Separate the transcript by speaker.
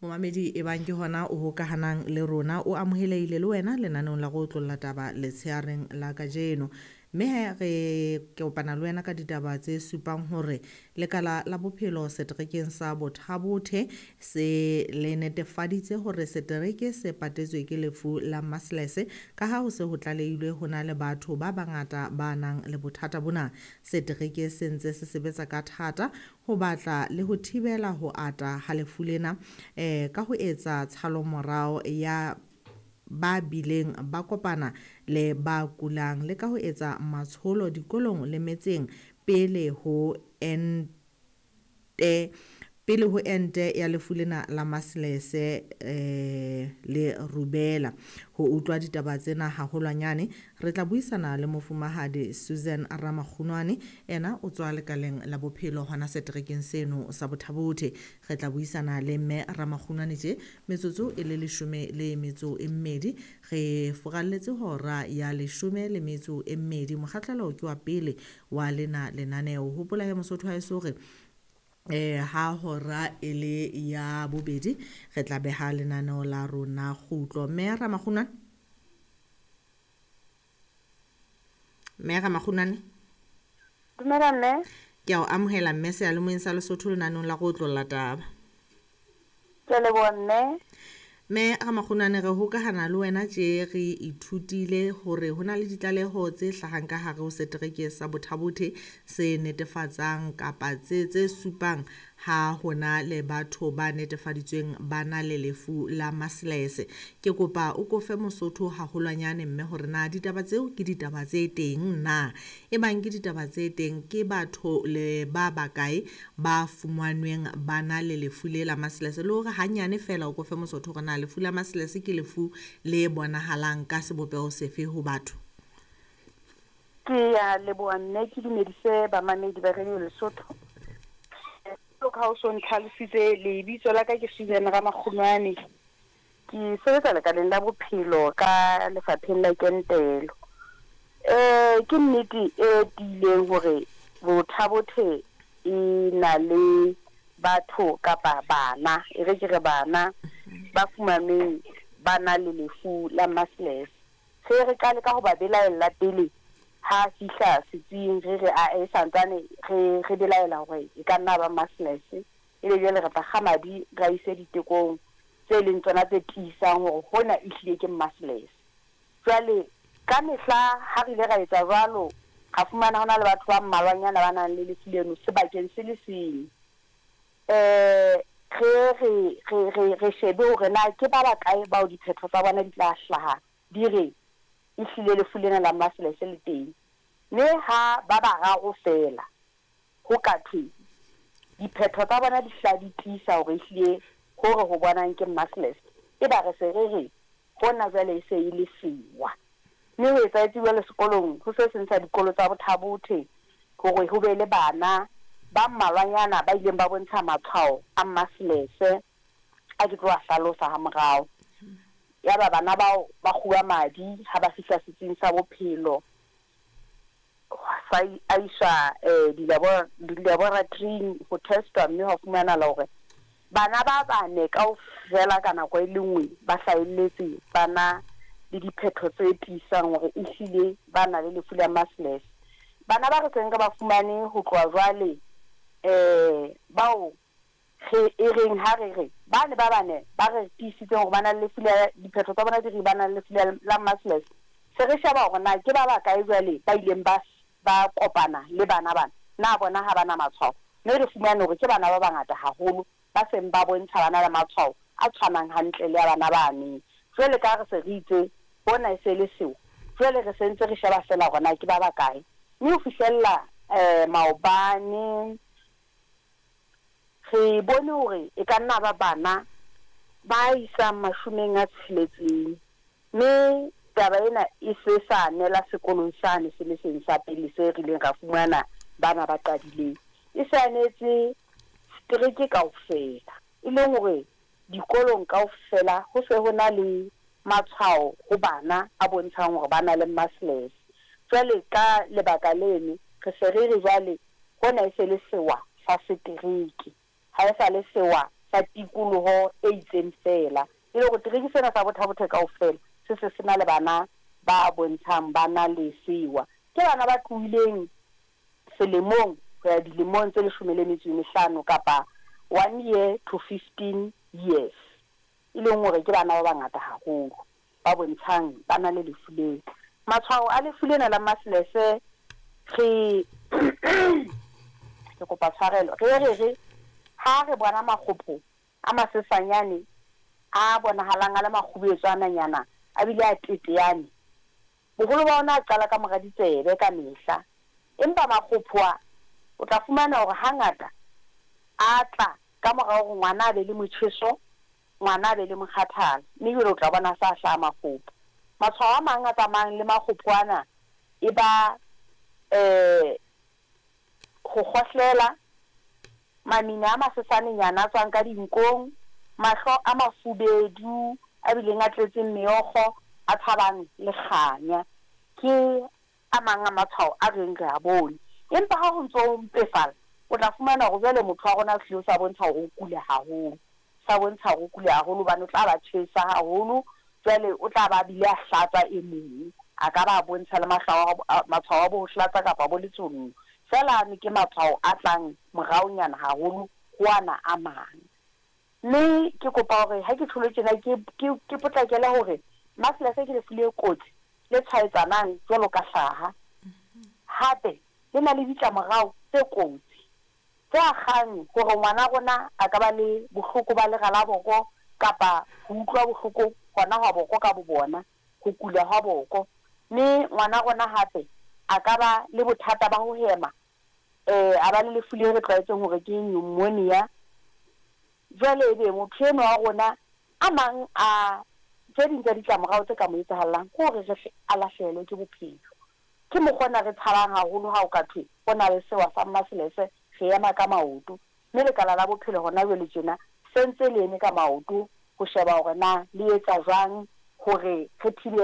Speaker 1: Momamedi e bang ke hona o hokahanang le rona, o amohelehile le wena lenaneong la go otlolla taba letsheareng la kajeno. Mme he re kopana le wena ka ditaba tse supang hore lekala la bophelo seterekeng sa Botha-Bothe se le netefaditse hore setereke se patetswe ke lefu la measles, ka ha ho se ho tlalehilwe ho na le batho ba bangata ba nang le bothata bona. Setereke se ntse se sebetsa ka thata ho batla le ho thibela ho ata ha lefu lena ka ho etsa tshalomorao ya ba bileng ba kopana le ba kulang, le ka ho etsa matsholo dikolong le metseng pele ho ente pele ho ente ya lefu lena la measles le rubella. Ho utlwa ditaba tsena haholwanyane, re tla buisana le mofumahadi Susan Ramakgunwane, ena o tswa lekaleng la bophelo hona seterekeng seno sa Botha-Bothe. Re tla buisana le mme Ramakgunwane tje metsotso e le 12, re furalletse hora ya 12. Mokgahlelo ke wa pele wa lena lenaneo. Hopola he Mosotho ha eso hore ha hora e le ya bobedi re tla beha lenaneo la rona kgutlo. Mme Ramakgunwane, mme Ramakgunwane,
Speaker 2: Dumela mme.
Speaker 1: Ke a o amohela mme seyalemoyeng sa Lesotho lenaneong la go otlolla taba.
Speaker 2: Ke a leboha mme.
Speaker 1: Mme Ramakgunwane, re hokahana le wena tje re ithutile hore ho na le ditlaleho tse hlahang ka hare ho setereke sa Botha-Bothe se netefatsang kapa tse supang ha hona le batho ba netefaditsweng ba na le lefu la measles. Ke kopa o kofe Mosotho haholwanyane mme hore na ditaba tseo ke ditaba tse teng na, e bang ke ditaba tse teng ke batho le ba bakae ba fumanweng ba na le lefu le la measles, le hore hanyane fela o kofe Mosotho hore na lefu la measles ke lefu le bonahalang ka sebopeho sefe ho batho.
Speaker 2: Ke a leboha mme, ke dumedise bamamedi ba Radio Lesotho. Jwalo ka ha o so ntlhalositse, lebitso la ka ke Susan Ramakgunwane. Ke sebetsa lekaleng la bophelo ka lefapheng la kentelo. Ke nnete e tiileng hore Botha-Bothe e na le batho kapa bana, e re ke re bana ba fumanweng ba na le lefu la measles. Re re qale ka ho ba belaella pele ha fihla setsing, re re ae santsane re re belaela hore e ka nna ba measles, ebe jwale re tla kga madi re a ise ditekong tse leng tsona tse tiisang hore hona ehlile ke measles. Jwale ka mehla ha re ile ra etsa jwalo, ra fumana ho na le batho ba mmalwanyana ba nang le lefu leno sebakeng se le seng. Re re re re re shebe hore na ke ba bakae bao diphetho tsa bona di tla hlaha di re ehlile lefu lena la measles le teng. Mme ha ba bararo feela ho ka thwe diphetho tsa bona di hla di tiisa hore ehlile hore ho bonang ke measles, eba re se re re hona jwale e se e le sewa. Mme ho etsahetse jwalo sekolong ho se seng sa dikolo tsa Botha-Bothe hore ho be le bana ba mmalwanyana ba ileng ba bontsha matshwao a measles a ke tlo a hlalosa ha morao. Yaba bana bao ba kguwa madi ha ba fihla setsing sa bophelo, sa a iswa dilaboratoring ho testwa, mme hwa fumanahala hore bana ba bane kaofela ka nako e le nngwe ba hlahelletse ba na le diphetho tse tiisang hore ehlile ba na le lefu la measles. Bana ba re seng re ba fumane ho tloha jwale, bao re e reng ha re re bane ba bane ba re tiisitseng hore ba na le lefu la diphetho tsa bona di re ba na le lefu la measles, se re sheba hore na ke ba bakae jwale ba ileng ba ba kopana le bana bana, na bona ha ba na matshwao, mme re fumane hore ke bana ba bangata haholo ba seng ba bontsha bana le matshwao a tshwanang hantle le a bana bane. Jwale ka re se re itse hona e se le seo, jwale re se ntse re sheba feela hore na ke ba bakae. Mme ho fihlella maobane re bone hore e ka nna ba bana ba isang 60, mme taba ena e se sa nela sekolong sane se le seng sa pele se rileng ra fumana bana ba qadileng, e se anetse setereke kaofela, e leng hore dikolong kaofela ho se ho na le matshwao ho bana a bontshang hore ba na le measles. Jwale ka lebaka leno re se re re jwale hona e se le sewa sa setereke, ha e sa le sewa sa sa tikoloho e itseng feela. E le hore tereke sena sa Botha-Bothe kaofela se se se na le bana ba bontshang ba na le sewa. Ke bana ba tlohileng selemong ho ya dilemong tse 15 kapa 1 year to 15 years, e leng hore ke bana ba bangata haholo ba bontshang ba na le lefu leo. Matshwao a lefu lena la measles, re ke kopa tshwarelo, re ha re bona makgopho a masesanyane a bonahalang a le makgubetswananyana a bile a teteane. Boholo ba ona a qala ka mora ditsebe ka mehla, empa makgopho a o tla fumana hore hangata a tla ka mora hore ngwana a be le motjheso, ngwana a be le mokgathala, mme jwale o tla bona sa hlaha makgopho. Matshwao a mang a tsamayang le makgopho ana e ba ho kgohlela, mamina a masesanenyana a tswang ka dinkong, mahlo a mafubedu a bileng a tletseng meokgo, a tshabang le kganya, ke a mang a matshwao a reng re a bone. Empa ha ho ntso ho mpefala, o tla fumana hore jwale motho wa rona o hlile o sa bontsha hore o kula haholo, sa bontsha hore o kula haholo, hobane o tla ba tjhesa haholo. Jwale o tla ba bile a hlatsa, e mong a ka ba bontsha le matshwao a bo ho hlatsa kapa bo letshollo feela. Ano ke matshwao a tlang moraonyana haholo ho ana a mang. Mme ke kopa hore ha ke tjholo tjena ke potlakele hore measles ke lefu le kotsi le tshwaetsanang jwalo ka hlaha, hape le na le ditlamorao tse kotsi tse akgang hore ngwana rona a ka ba le bohloko ba lera la boko kapa ho utlwa bohloko hona hwa boko ka bo bona, ho kula hwa boko. Mme ngwana rona hape a ka ba le bothata ba ho hema, a ba le lefu le re tlwaetseng hore ke pneumonia. Jwale ebe motho enwa wa rona, a mang a tse ding tsa ditlamorao tse ka mo etsahallang ke hore re a lahlehelwe ke bophelo. Ke mokgwa ona re tshabang haholo ha o ka thwe ho na le sewa sa measles, re ema ka maoto. Mme lekala la bophelo hona jwale tjena se ntse le eme ka maoto ho sheba hore na le etsa jwang hore re thibele.